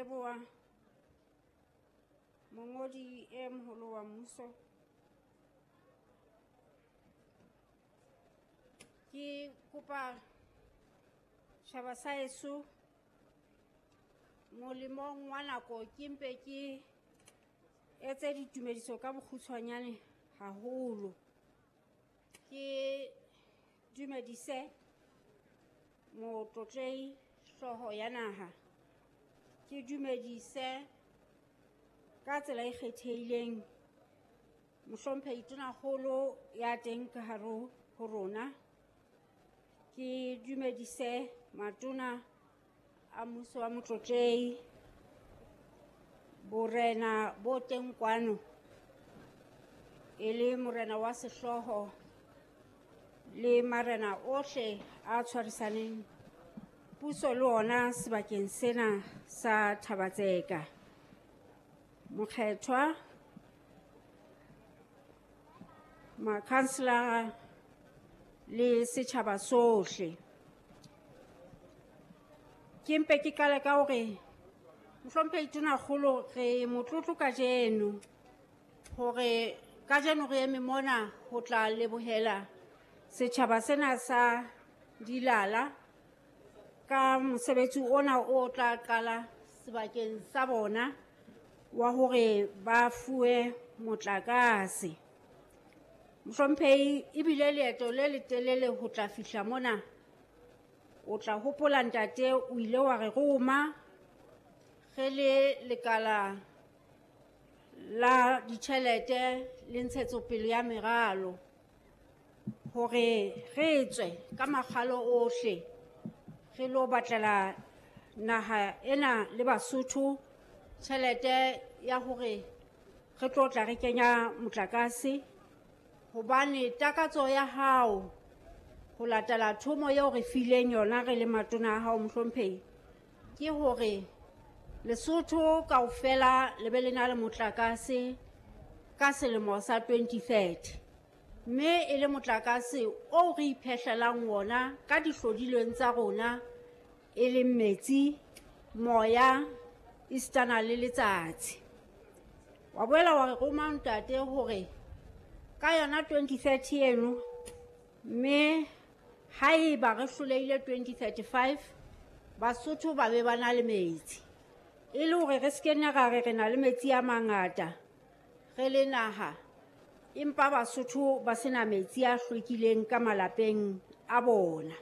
leboha mongodi e moholo wa mmuso. Ke kopa tjhaba sa heso molemong wa nako ke mpe ke etse ditumediso ka bokgutshwanyane haholo. Ke dumedise motlotlehi hlooho ya naha. Ke dumedise ka tsela e kgethehileng mohlomphehi tonakgolo ya teng ka hare ho rona. Ke dumedise matona a mmuso wa motlotlehi, borena bo teng kwano e le morena wa sehlooho le marena ohle a tshwarisaneng puso le ona sebakeng sena sa Thaba-Tseka. Mokgethwa, makhanselara le setjhaba sohle. Ke mpe ke qale ka hore mohlomphehi tonakgolo re motlotlo kajeno hore kajeno re eme mona ho tla lebohela setjhaba sena sa Dilala ka mosebetsi ona o tla qala sebakeng sa bona wa hore ba fuwe motlakase. Mohlomphehi, ebile leeto le letelele ho tla fihla mona. O tla hopola ntate o ile wa re roma re le lekala la ditjhelete le ntshetsopele ya meralo hore re tswe ka makgalo ohle re lo batlela naha ena le Basotho tjhelete ya hore re tlo tla re kenya motlakase, hobane takatso ya hao ho latela thomo eo re fileng yona re le matona a hao mohlomphehi ke hore Lesotho kaofela le be le na le motlakase ka selemo sa 2030, mme e le motlakase oo re iphehlelang wona ka dihlodilweng tsa rona e leng metsi, moya, esitana le letsatsi. Wa boela wa re roma ntate hore ka yona 2030 eno, mme haeba re hlolehile 2035 Basotho ba be ba na le metsi, e le hore re se ke nna ra re re na le metsi a mangata re le naha, empa Basotho ba sena metsi a hlwekileng ka malapeng a bona.